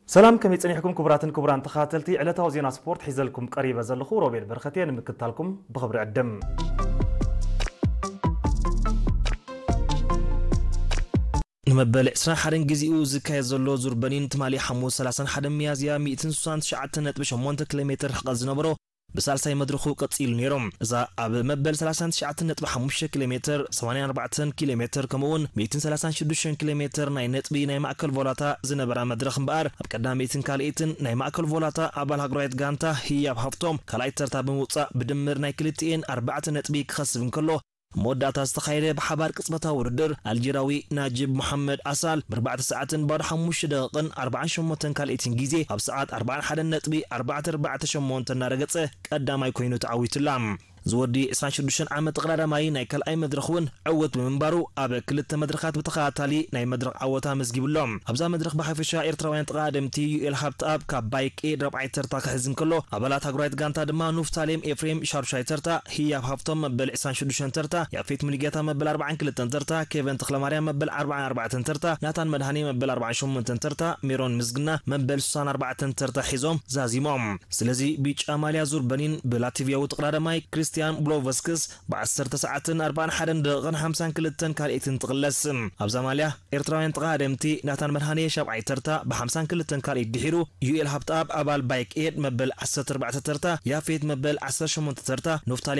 ሰላም፣ ከመይ ጸኒሕኩም ክቡራትን ክቡራን ተኸታተልቲ ዕለታዊ ዜና ስፖርት? ሒዘልኩም ቀሪበ ዘለኹ ሮቤል በረኸት እየ። ንምክትታልኩም ብኽብሪ ዕድም። ንመበል ዕስራን ሓደን ግዜኡ ዝካየድ ዘሎ ዙር በኒን ትማሊ ሓሙስ ሰላሳን ሓደን ሚያዝያ ሚእትን ስሳን ትሽዓተን ነጥቢ ሸሞንተ ኪሎ ሜትር ርሕቀት ዝነበሮ ብሳልሳይ መድረኹ ቀጺሉ ነይሩ። እዛ ኣብ መበል ሰላሳን ትሽዓተን ነጥቢ ሓሙሽተ ኪሎ ሜትር፣ ሰማንያን ኣርባዕተን ኪሎ ሜትር ከምኡውን ሚእትን ሰላሳን ሽዱሽተን ኪሎ ሜትር ናይ ነጥቢ ናይ ማእከል ቮላታ ዝነበራ መድረኽ እምበኣር፣ ኣብ ቀዳመይትን ካልኣይትን ናይ ማእከል ቮላታ ኣባል ሃገራዊት ጋንታ ህያብ ሃፍቶም ካልኣይ ተርታ ብምውጻእ ብድምር ናይ ክልቲኤን ኣርባዕተ ነጥቢ ክኸስብ እንከሎ፣ መወዳእታ ዝተኻየደ ብሓባር ቅጽበታዊ ውድድር ኣልጀራዊ ናጅብ መሓመድ ኣሳል ብኣርባዕተ ሰዓትን ባዶ ሓሙሽተ ደቂቕን ኣርባዓን ሸሞንተን ካልኣይትን ግዜ ኣብ ሰዓት ኣርባዓን ሓደን ነጥቢ ኣርባዕተ ኣርባዕተ ሸሞንተ እናረገጸ ቀዳማይ ኮይኑ ተዓዊቱላ። ዝወዲ ዕስራን ሽዱሽተን ዓመት ተቐዳዳማይ ናይ ካልኣይ መድረኽ እውን ዕውት ብምንባሩ ኣብ ክልተ መድረኻት ብተኸታታሊ ናይ መድረኽ ዓወታ ኣመዝጊቡ ኣሎ። ኣብዛ መድረኽ ብሓፈሻ ኤርትራውያን ተቐዳደምቲ ዩኤል ሃብተኣብ ካብ ባይክ ኤድ ራብዓይ ተርታ ክሕዝ እንከሎ፣ ኣባላት ሃገራዊት ጋንታ ድማ ኑፍታሌም ኤፍሬም ሻዱሻይ ተርታ፣ ህያብ ሃፍቶም መበል ዕስራን ሽዱሽተን ተርታ፣ ያፌት ሙሉጌታ መበል ኣርባዓን ክልተን ተርታ፣ ኬቨን ተኽለማርያም መበል ኣርባዓን ኣርባዕተን ተርታ፣ ናታን መድሃኔ መበል ኣርባዓን ሸሞንተን ተርታ፣ ሜሮን ምስግና መበል ስሳን ኣርባዕተን ተርታ ሒዞም ዛዚሞም። ስለዚ ቢጫ ማልያ ዙር በኒን ብላትቪያዊ ተቐዳዳማይ ክሪስቲያን ብሎቨስክስ ብዓሰርተ ሰዓትን ኣርባዓን ሓደን ደቂቕን ሓምሳን ክልተን ካልኣይትን ትቕለስ። ኣብዛ ማልያ ኤርትራውያን ተቐዳደምቲ ናታን መድሃኔ ሻብዓይ ተርታ ብሓምሳን ክልተን ካልኣይት ድሒሩ፣ ዩኤል ሃብተኣብ ኣባል ባይክ ኤድ መበል ዓሰርተ ኣርባዕተ ተርታ፣ ያፌት መበል ዓሰርተ ሸሞንተ ተርታ፣ ኑፍታሌ